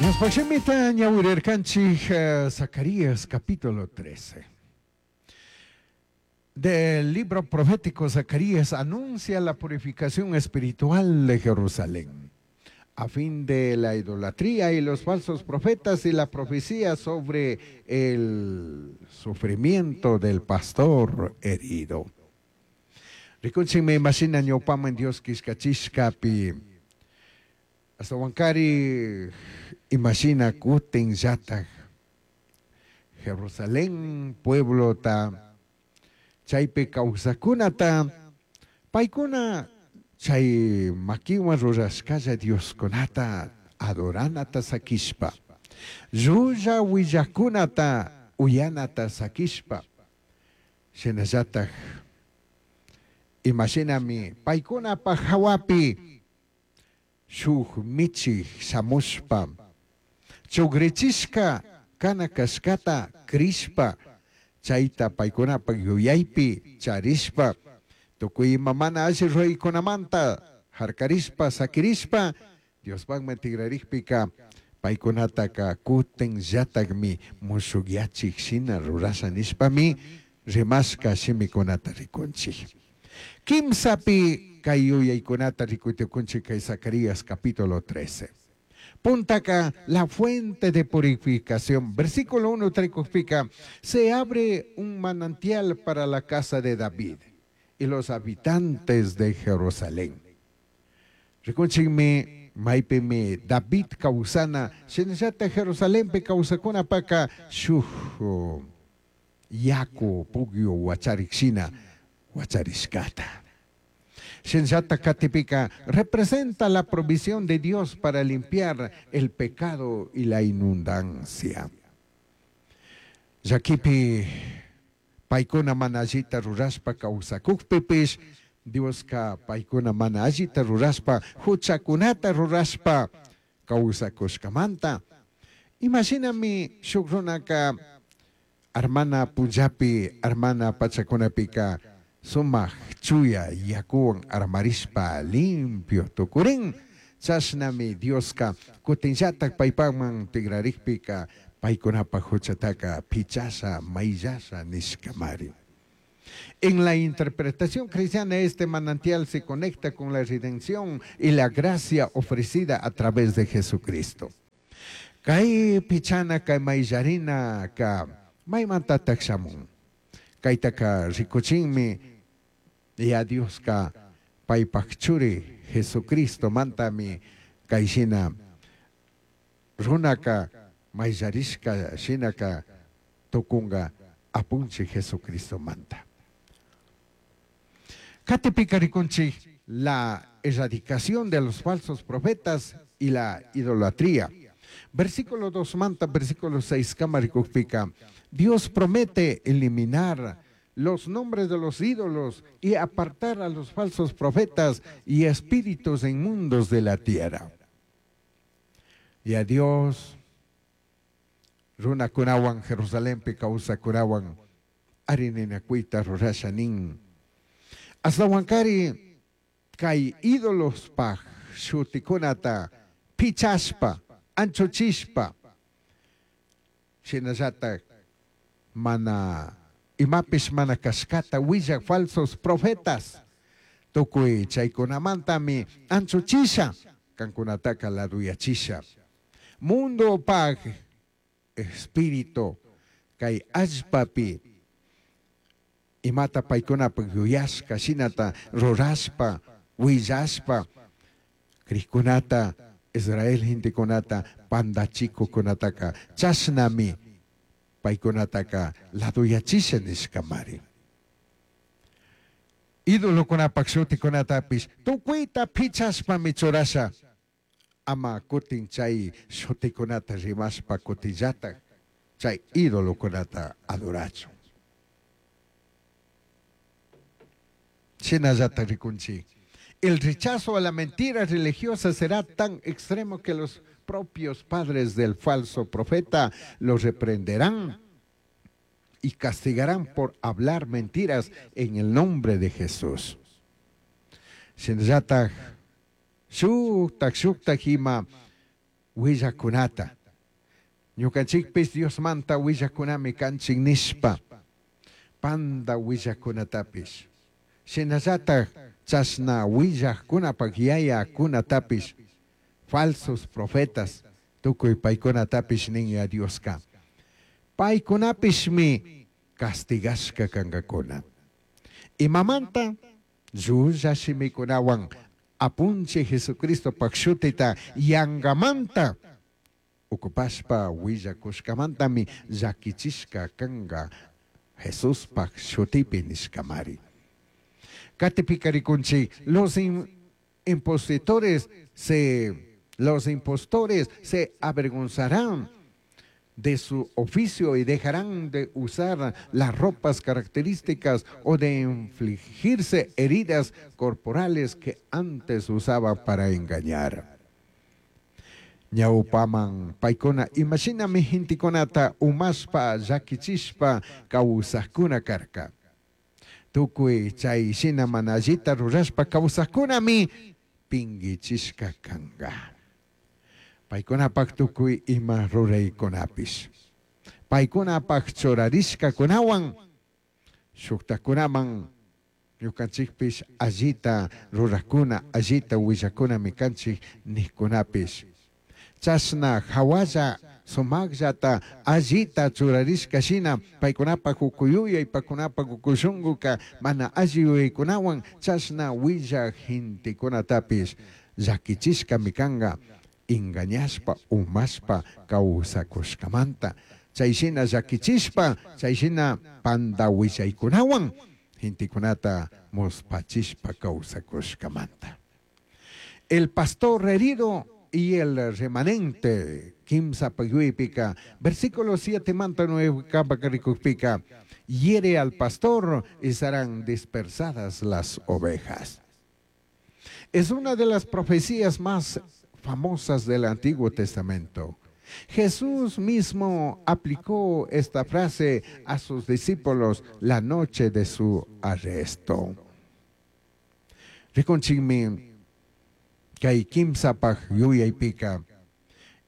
Diospaj shimita ñawirirkanchik Zacarías capítulo 13. Del libro profético Zacarías anuncia la purificación espiritual de Jerusalén a fin de la idolatría y los falsos profetas y la profecía sobre el sufrimiento del pastor herido. Rikunchikmi imashina ñawpaman Dios killkachishkapi ashtawankari imashina kutinllataj Jerusalén pueblota chaypi kawsakkunata paykuna chay makiwan rurashkalla Dioskunata adoranata sakishpa llulla willakkunata uyanata sakishpa shinallataj imashinami paykunapaj hawapi shuk michik shamushpa chugrichishka kana kashkata crishpa chayta paykunapaj yuyaypi charishpa tukuy ima mana alli ruraykunamanta harkarishpa sakirishpa Diospajman tigrarikpika paykunataka kutinllatakmi mushukyachik shina rurasha nishpami rimashka shimikunata rikunchik. Kimsapi kay yuyaykunata rikuy kay Zacarías capítulo 13. Puntaka la fuente de purificación. Versículo 1 trikukpika, se abre un manantial para la casa de David y los habitantes de Jerusalén. Rikunchikmi maypimi David kawsana shinallata Jerusalenpi kawsakunapaka shuk yaku pugyu wacharik shina wacharishkata. Shinallata katipika representa la provisión de Dios para limpiar el pecado y la inundancia. Llakipi paykuna mana allita rurashpa kawsakukpipish Dioska paykuna mana allita rurashpa huchakunata rurashpa kawsakushkamanta. Imashinami shuk runaka armana punllapi armana pachakunapika sumak chuya yakuwan armarishpa limpio tukurin chashnami Dioska kutinllatak paypakman tigrarikpika paykunapaj huchataka pichasha mayllasha nishkamari. En la interpretación cristiana, este manantial se conecta con la redención y la gracia ofrecida a través de Jesucristo. Kay pichana kay mayllarina ka maymantatak shamun. Kaytaka rikuchinmi ya Dioska paypaj churi Jesucristo mantami kayshina runaka mayllarishka shinaka tukunga apunchik Jesucristo manta. Katipika rikunchik la erradicación de los falsos profetas y la idolatría. Versículo 2 manta, versículo 6 kama rikukpika. Dios promete eliminar los nombres de los ídolos y apartar a los falsos profetas y espíritus inmundos de la tierra. Y a Dios, runakunawan Jerusalenpi kawsakunawan arininakuyta rurasha nin. Ashtawankari kay ídolospaj shutikunata pichashpa, anchuchishpa, shinallatak mana imapish mana kashkata willak falsos profetas tukuy chaykunamantami anchuchisha kankunataka laduyachisha. Mundopaj espíritu kay allpapi imata paykunapaj yuyashka shinata rurashpa willashpa krikkunata Israel gentekunata pandachikukunataka chashnami paykunataka laduyachisha nishkamari. Idolokunapaj shutikunatapish tukuyta pichashpami churasha ama kutin chay shutikunata rimashpa kutinllatak chay idolokunata adorachun. Shinallata rikunchik. El rechazo a la mentira religiosa será tan extremo que los propios padres del falso profeta los reprenderán y castigarán por hablar mentiras en el nombre de Jesús. Shinallatak shuktak shuktak ima willakunata. Ñukanchikpish Diosmanta willajkunami kanchik nishpa panda willajkunatapish, shinallataj chashna willajkunapaj yayakunatapish, falsos profetas, tukuy paykunatapish nin ya Dioska. Paykunapishmi castigashka kankakuna. Imamanta? Llulla shimikunawan apunchik Jesucristopaj shutita yangamanta ocupashpa willakushkamantami llakichishka kanka Jesuspaj shutipi nishkamari. Katipika rikunchik, los impostores se avergonzarán de su oficio y dejarán de usar las ropas características o de infligirse heridas corporales que antes usaba para engañar. Ñawpaman paykuna imashinami gentekunata umashpa llakichishpa kawsajkuna karka. Tukuy chay shina mana allita rurashpa kawsajkunami pinkichishka kanka. Paykunapak tukuy ima ruraykunapish. Paykunapak churarishkakunawan shuktakunaman ñukanchikpish allita rurakuna, allita willakunami kanchik nijkunapish. Chashna hawalla sumaqllata allita churarishka shina paykunapak ukuyuyay, paykunapak ukushunkuka mana alli yuyaykunawan chashna willaj gentekunatapish llakichishkami kanka engañashpa, umashpa kawsakushkamanta. Chay shina llakichishpa, chay shina panda willaykunawan gentekunata muspachishpa kawsakushkamanta. El pastor herido y el remanente, kimsa payuypika, versículo 7 manta 9 kapakarikukpika, hiere al pastor y serán dispersadas las ovejas. Es una de las profecías más famosas del Antiguo Testamento. Jesús mismo aplicó esta frase a sus discípulos la noche de su arresto. Rikunchikmi kay kimsapaj yuyaypika,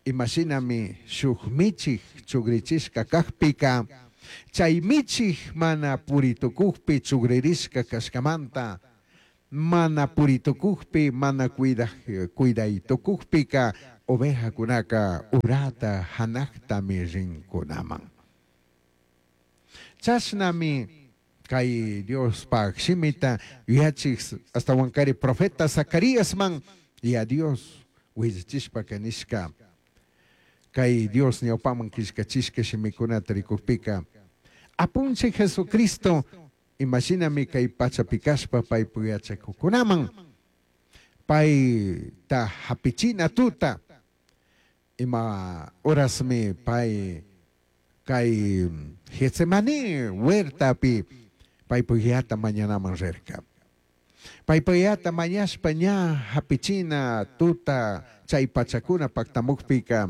imashinami shuk michik chugrichishka kajpika, chay michik mana puritukujpi chugririshka kashkamanta, mana puritukujpi, mana cuidaytukujpika, ovejakunaka urata hanaqtami rinkunaman. Chashnami kay Diospaj shimita yuyachik astawankari profeta Zacaríasman y a Dios willachishpa kanishka. Kay Dios ñawpaman killkachishka shimikunata rikukpika, apunchik Jesucristo imashinami kay pachapikashpa paypu yachakukunaman, payta hapichina tuta, ima horasmi pay kay Getsemaní huertapi paypu yata mañanaman rirka. Paypu yata mañashpa ña hapichina tuta chay pachakuna paktamukpika,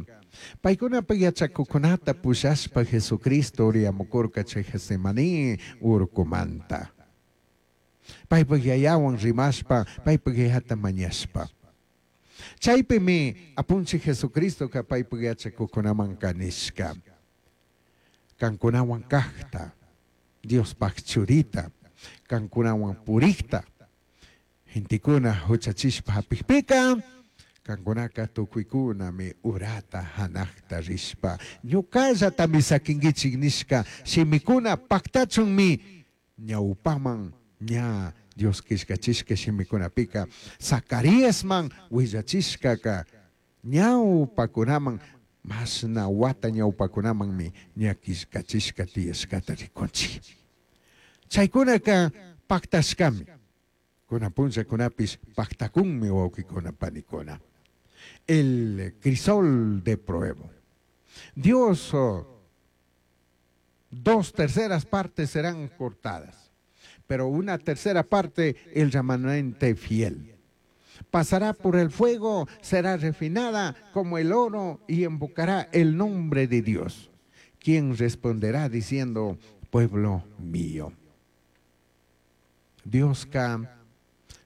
paykunapa yachakukunata pushashpa Jesucristo uriyamukurka chay Getsemaní urkumanta. Paypa yayawan rimashpa, paypa yata mañashpa. Chaypimi apunchik Jesucristoka paypa yachakukunaman kanishka. Kankunawan kajta, Diospaj churita, kankunawan purikta, gentekuna huchachishpa hapikpika, kankunaka tukuykunami urata hanaqta rishpa, ñukallatami sakinkichik nishka, shimikuna paktachunmi ñawpaman ña Dios killkachishka shimikunapika, Zacaríasman willachishkaka ñawpakunaman, mashna wata ñawpakunamanmi ña killkachishka tiyashkata rikunchik. Chaykunaka paktashkami. Kunan punllakunapish paktakunmi wawqikuna panikuna. El crisol de prueba. Dios, 2/3 partes serán cortadas, pero una tercera parte el remanente fiel. Pasará por el fuego, será refinada como el oro y invocará el nombre de Dios, quien responderá diciendo, pueblo mío. Dioska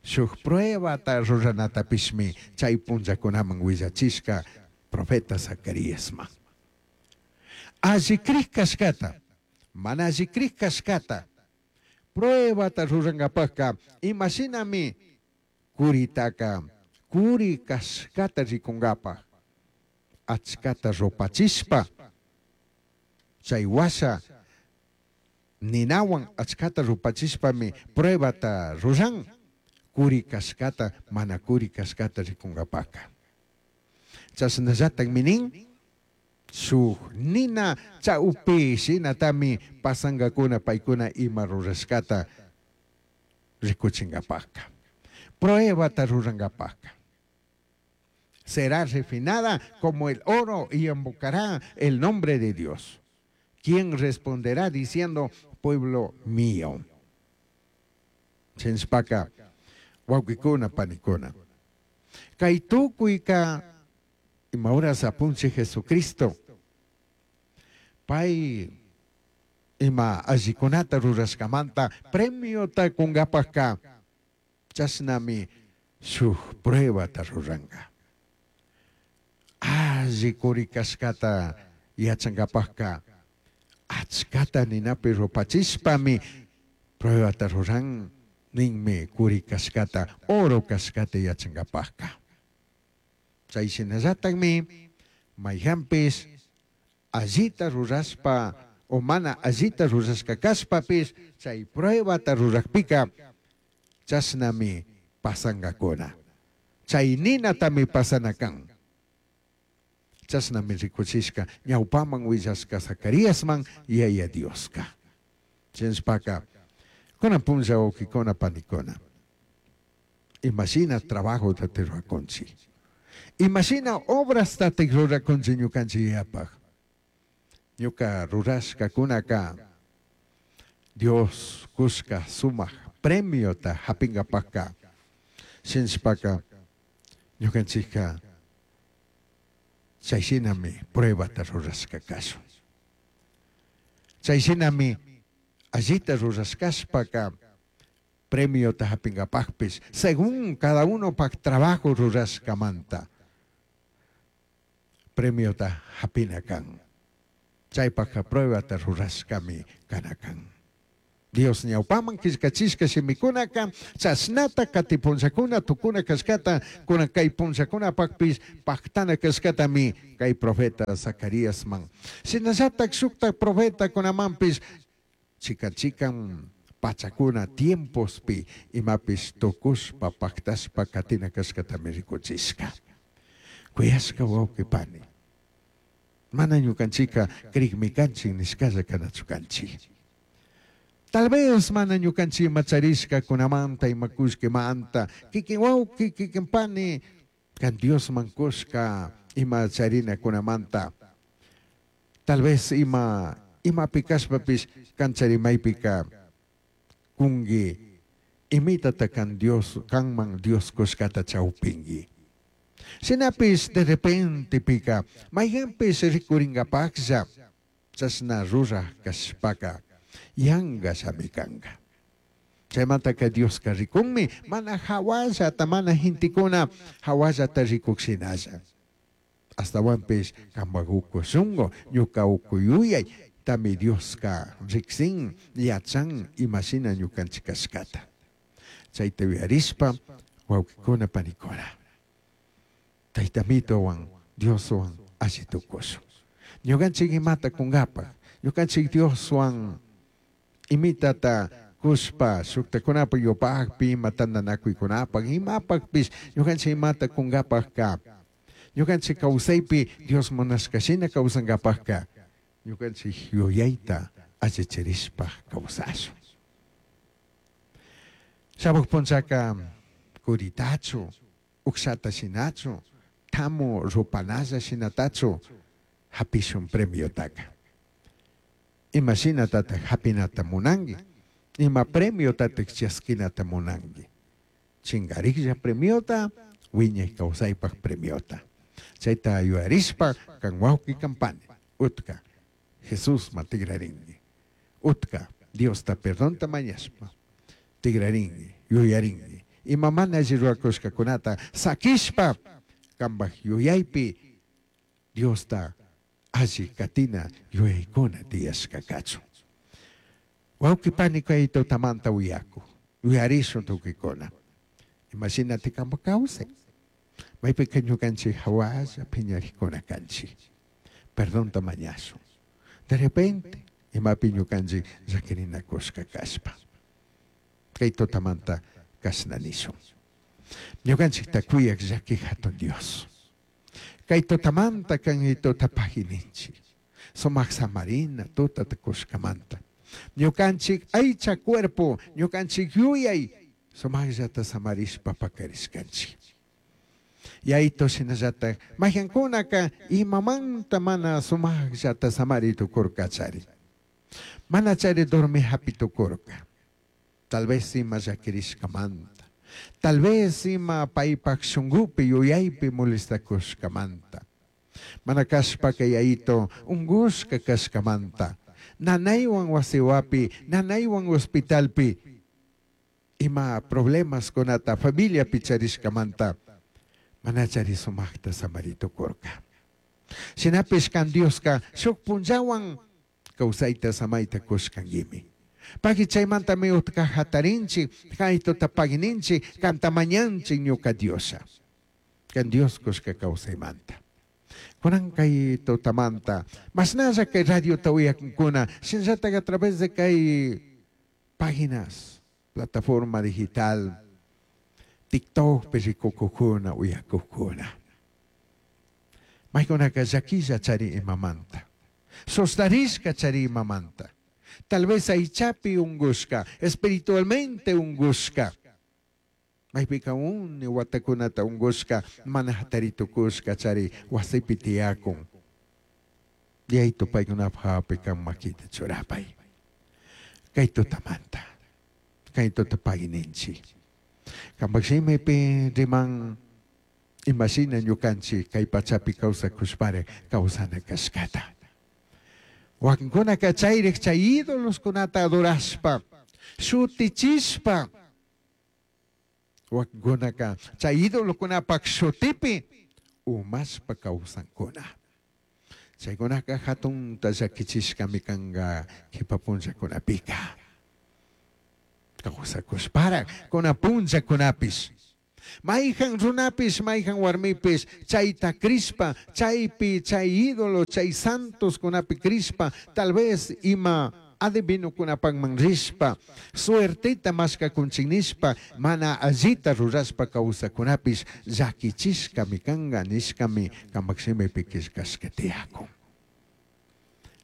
shuk pruebata ruranatapishmi chay punllakunaman willachishka profeta Zacaríasman. Alli crij cashcata, mana alli crij cashcata, pruebata rurangapajca ima shinami curitaca curi cashcata ricungapaj achcata rupachishpa, chai huasha ninahuan achcata rupachishpami pruebata ruran curi cashcata mana curi cashcata ricungapajca. Chashnallatajmi nin, shuj nina chaupi shinatami pasangacuna paicuna ima rurashcata ricuchingapajca. Pruebata rurangapajca. Será refinada como el oro y invocará el nombre de Dios. ¿Quién responderá diciendo, pueblo mío? Chinshpaka, wawqikuna, panikuna. Kay tukuyka ima horas apunchij Jesucristo pay ima allikunata rurashkamanta premiota kungapajka chashnami shuj pruebata ruranka. Alli curi kashkata yachankapajka achkata ninapi rupachishpami pruebata ruran ninmi curi kashkata, oro kashkata yachankapajka. Chay shinallatakmi mayhanpish allita rurashpa o mana allita rurashka kashpapish chay pruebata rurakpika chashnami pasangakuna. Chay ninatami pasana kan. Chashnami rikuchishka ñawpaman willashka Zacaríasman Yaya Dioska. Chinshpaka kunan punlla wawqikuna panikuna. Imashina trabajota rurakunchik. Imashina obrasta rurakunchik ñukanchik yapaj. Ñuka rurashkakunaka Dios kushka sumak premiota hapingapajka. Shinshpaka ñukanchikka chayshinami pruebata rurashka kashun. Chayshinami allita rurashkashpaka premiota hapingapajpish según cada uno pak trabajo rurashkamanta premiota hapina kan. Chaypajka pruebata rurashkami kana kan. Dios ñawpaman killkachishka shimikunaka chashnata kati punllakuna tukuna kashkata kunan kay punllakunapakpish paktana kashkatami kay profeta Zacaríasman. Shinallatak shuktak profetakunamanpish chikan chikan pachakuna tiempospi imapish tukushpa paktashpa katina kashkatami rikuchishka. Kuyashka wawqi pani. Mana ñukanchika krikmi kanchik nishkalla kanachu kanchik. Tal vez mana ñukanchik ima charishkakunamanta ima kullkimanta kikin wawqi kikin pani kan Diosman kushka ima charinakunamanta. Tal vez ima imapi kashpapish kan charimaypika kunki imitata kan Dios kanman Dios kushkata chawpinki. Shinapish de repente pika mayhanpish rikuringapaklla chashna ruraj kashpaka yanga shami kanka. Chaymantaka Dioska rikunmi mana hawallata mana gentekuna hawallata rikukshinalla. Astawanpish kanpak uku shunku ñuka uku yuyay tami Dioska riksin yachan imashina ñukanchik kashkata. Chayta yuyarishpa wawqikuna panikuna. Taytamitowan Dioswan alli tukushun. Ñukanchik imata kunkapaj, ñukanchik Dioswan imitata kushpa shuktakunapaj yupakpi ima tantanakuykunapaj imapakpish ñukanchik imata kunkapajka ñukanchik kawsaypi Dios munashkashina kawsankapajka ñukanchik yuyayta allichirishpa kawsashun. Shamuj punllaka kuritachu, ukshata shinachu, tamu rupanalla shinatachu hapishun premiotaka. Ima shinatataj hapinata munanki, ima premiotataj chaskinata munanki. Chinkariklla premiota, wiñay kawsaypaj premiota. Chayta yuyarishpa kan wawqi kan pani, utka Jesusman tikrarinki. Utka Diosta perdonta mañashpa tikrarinki, yuyarinki. Ima mana alli rurakushkakunata sakishpa kanpaj yuyaypi Diosta Alli katina yuyaykuna tiyashka kachun. Wawqi pani kay tutamanta uyaku, uyarishun tukuykuna. Imashinati kanpak kawsay. Maypika ñukanchik hawalla piñarikuna kanchik. Perdonta mañashun. De repente, imapi ñukanchik llaquirinakushka kashpa. Kay tutamanta kashna nishun. Ñukanchikta kuyak llaki hatun Dios. Kay tutamanta kan tuta pagininchik. Sumak samarina tutata kushkamanta. Ñukanchik aycha cuerpo, ñukanchik yuyay, sumakllata samarishpa pakarishkanchik. Yayito shinallata mayqankunaka imamanta mana sumakllata samari tukurkachari. Mana chari dormi hapi tukurka. Tal vez ima llakirishkamanta. Tal vez ima paypak shunkupi yuyaypi molestakushkamanta. Mana kashpaka yayito unkushka kashkamanta. Nanaywan wasiwapi, nanaywan hospitalpi ima problemas kunata familiapi charishkamanta mana chari sumakta samari tukurka. Shinapish kan Dioska shuk punllawan kawsayta samayta kushkankimi. Pagui chaymantami utka hatarinchik, kaytuta pagininchik, kanta mañanchik ñuka Diosa. Kan Dios kushka kawsaymanta. Kunan kay tutamanta, mashnalla kay radiota uyakunkuna, shinallatak a través de kay páginas, plataforma digital, TikTok rikukukuna uyakukuna. Maykunaka llakilla chari imamanta. Sostarishka chari imamanta. Tal vez aychapi ungushka, espiritualmente ungushka. Maypika uni watakunata ungushka, mana hataritukushka chari wasipi tiyakun. Yayto paykunapaq hawapi kan makita churapay. Kay tutamanta, kay tuta pagui ninchik. Kanpak shimipi riman imashina ñukanchik kay pachapi kawsakushpari kawsana kashkata. Wakinkunaka chayrik chay ídoloskunata adorashpa, shutichishpa. Wakinkunaka chay ídolokunapak shutipi umashpa kawsankuna. Chaykunaka hatunta llakichishkami kanka kipa punllakunapika. Kawsakushpara kuna punllakunapish. Mayjan runapish, mayjan warmipish, chayta crishpa, chaypi, chay ídolo, chay santos kunapi crishpa, tal vez ima adivinukunapakman rishpa, suerteta mashkakunchik nishpa, mana allita rurashpa kawsakunapish, llakichishkami kanka nishkami kanpak shimipi killkashka tiyakun.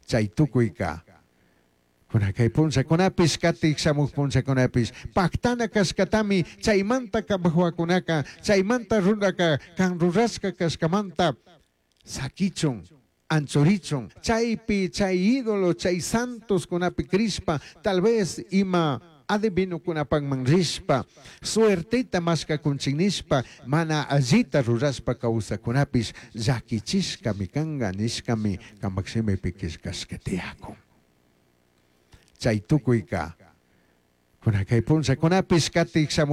Chay tukuyka, kuna kay punllakunapish, katik shamuj punllakunapish, paktana kashkatami chaymanta kanpak wawakunaka, chaymanta runaka kan rurashka kashkamanta sakichun, anchurichun, chaypi, chay ídolo, chay santos kunapi crishpa, tal vez ima adivinukunapakman rishpa, suerteta mashkakunchik nishpa, mana allita rurashpa kawsakunapish, llakichishkami kanka nishkami kanpak shimipi killkashka tiyakun. Chay tukuyka, kuna kay punllakunapish katik shamuj.